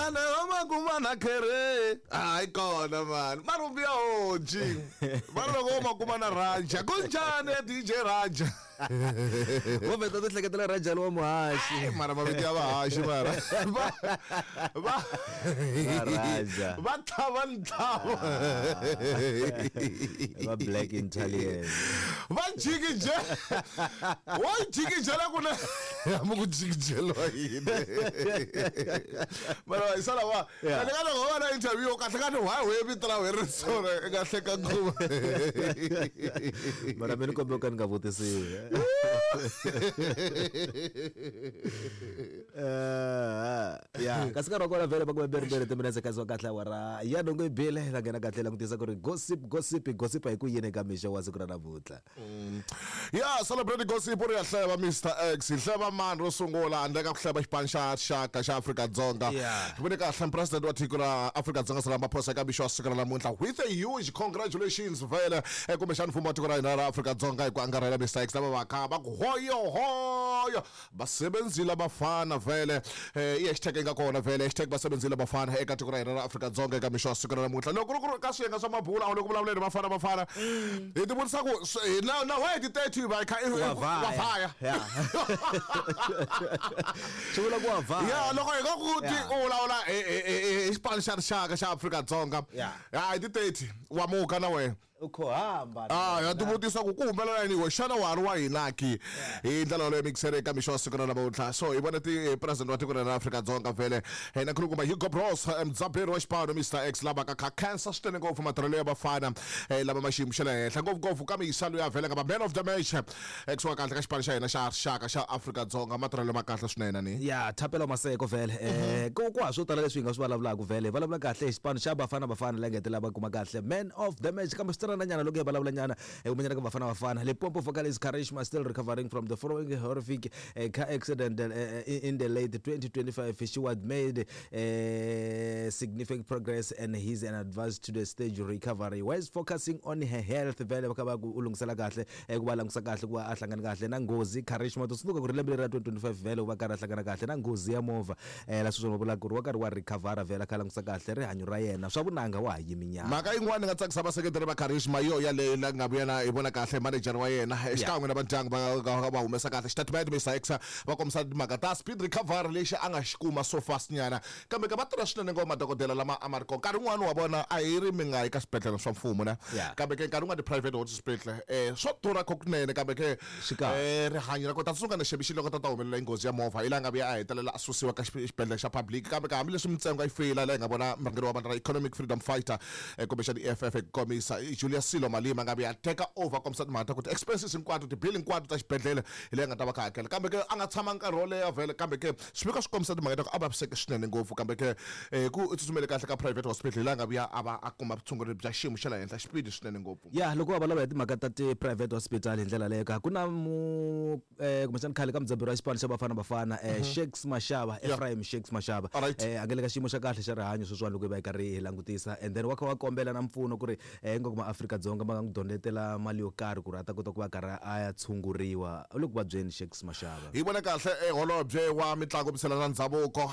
Mani wa makuma na khere hayi kona mani marhumbi ya honci mani loko wo makuma na Raja kunjhani ya DJ Raja. Wo vheta ti hleketela Raja wa muhaxi. Mara mavito ya vahaxi mara va va Raja. Va tlhava ntlhava. Va Black Italian. Va jikije wo jikijela ku na hambi ku jikijeliwa yini mara hi sala wa kahle ka loko va na interview kahle ka ni why we vito ra wena ri sona i nga hleka nguva. Mara mina kombe ka ni nga vutisiwi. Ya kasi nkarhi wa kona vhele va kume beriberi timinetse kasi wa kahle awara ya nhungu yi bile la nghena kahle langutisa ku ri gossip gossip gossip hi ku yini eka mixo wa siku ra namuntlha. Ya celebrate gossip ri ya hleva Mr X hi hleva mani ro sungula handle ka ku hleva xipano xa rixaka xa Afrika-Dzonga. Hi vone kahle president wa tiko ra Afrika-Dzonga Cyril Ramaphosa eka mixo wa siku ra namuntlha with a huge congratulations vhele kumbexana mfumo wa tiko ra hina ra Afrika-Dzonga hi ku angarhela Mr X lava va kha va ku hoyo hoyo basebenzile abafana vhele i hashtag yi nga kona vhele hashtag basebenzile abafana eka tiko ra hina ra Afrika-Dzonga eka mixo wa siku ra namuntlha. Loko ku ri ka swiyenge swa mabulu a wu le ku vulavuleni Bafana Bafana hi ti vutisa ku na why ti 30 va kha Wa wa vhaya. Swi vula ku wa vhaya. Ya loko hi nga ku ti u vulavula hi xipano xa rixaka xa Afrika-Dzonga ya hi ti 30 wa muka na wena. U kho hamba. Ah, ya tivutisa ku ku humelela yini we xana wa ha ri wa hina ki hi ndlela yoleyo mikisere eka mixo wa siku ra namuntlha. So hi vona ti president wa tiko ra Afrika-Dzonga vhele na khulukumba Hugo Broos mudzaberi wa xipano Mr X lava ka kha khensa swinene ngopfu matirhelo ya vafana lava ma xiyimo xa le henhla ngopfungopfu ka miyisa loyi a vhele nga va man of the match kusuka kahle ka xipano xa hina xa rixaka xa Afrika-Dzonga matirhelo ma kahle swinene ni. Ya Thapelo Maseko vhele ku ha swo tala leswi hi nga swi vulavulaka vhele hi vulavula kahle hi xipano xa Bafana Bafana la ngetela va kuma kahle man of the match kambe swi tsanana nyana loko hi vulavula nyana hi kumanyana ka Bafana Bafana. Limpopo vocalist Karishma still recovering from the following horrific car accident in the late 2025. She was made significant progress and he's an advance to the stage recovery while focusing on her health. Vhele va kha va ku u lunghisela kahle ku va langutisa kahle ku va a hlangana kahle na nghozi. Karishma to tsundzuka ku ri lembe leri ra 2025 vhele u va karhi a hlangana kahle na nghozi ya movha la sweswi va vulaka ku ri wa karhi wa recover vhele a kha a langutisa kahle rihanyo ra yena swa vunanga wa ha yimi nyana. Mhaka yin'wana yi nga tsakisa vaseketeri va Karishma hi yo yaleyo la nga vuya na hi vona kahle manager wa yena xikan'we na vandyangu va va humesa kahle xitatimende Mister X va kombisa timhaka ta speed recovery lexi a nga xi kuma so fast nyana kambe ka va tirha swinene ngopfu madokodela lama a ma ri kona nkarhi wun'wani wa vona a hi ri mi nga yi ka swibedhlele swa mfumo na kambe ke nkarhi wun'wani ti-private hospital swo durha kunene kambe ke rihanyo ra kota tsundzuka na xebixi loko ta ta humelela hi nghozi ya movha hi laha nga vuya a hetelela a susiwa ka xibedhlele xa public kambe ka hambileswi mintsengo a yi feyila laha hi nga vona murhangeri wa vandla ra Economic Freedom Fighter kumbexana EFF hi ku komisa Julius Silo Malima nga vuya a teka over kombisa timhaka ta ku ti-expenses hinkwato ti-bill hinkwato ta xibedhlele hi leyi nga ta va kha hakela kambe ke a nga tshama nkarhi wo leha vhele kambe ke swiviko swi kombisa timhaka ta ku a vaviseke swinene ngopfu kambe ke ku u tsutsumele kahle ka private hospital hi laha nga vuya a va a kuma vutshunguri bya xiyimo xa le henhla xipidi swinene ngopfu. Ya loko va vulavula hi timhaka ta ti-private hospital hi ndlela leyo ka ku na mu kumbexana khale ka mudzaberi wa xipano xa Bafana Bafana Shakes Mashaba Ephraim Shakes Mashaba a nga le ka xiyimo xa kahle xa rihanyo sweswiwani loko hi va hi karhi hi langutisa and then wa kha wa kombela na mpfuno ku ri ingaku maAfrika-Dzonga ma nga n'wi donetela mali yo karhi ku ri a ta kota ku va karhi a ya tshunguriwa u le ku vabyeni Shakes Mashaba. Hi vone kahle holobye wa mitlangu misela na ndhavuko.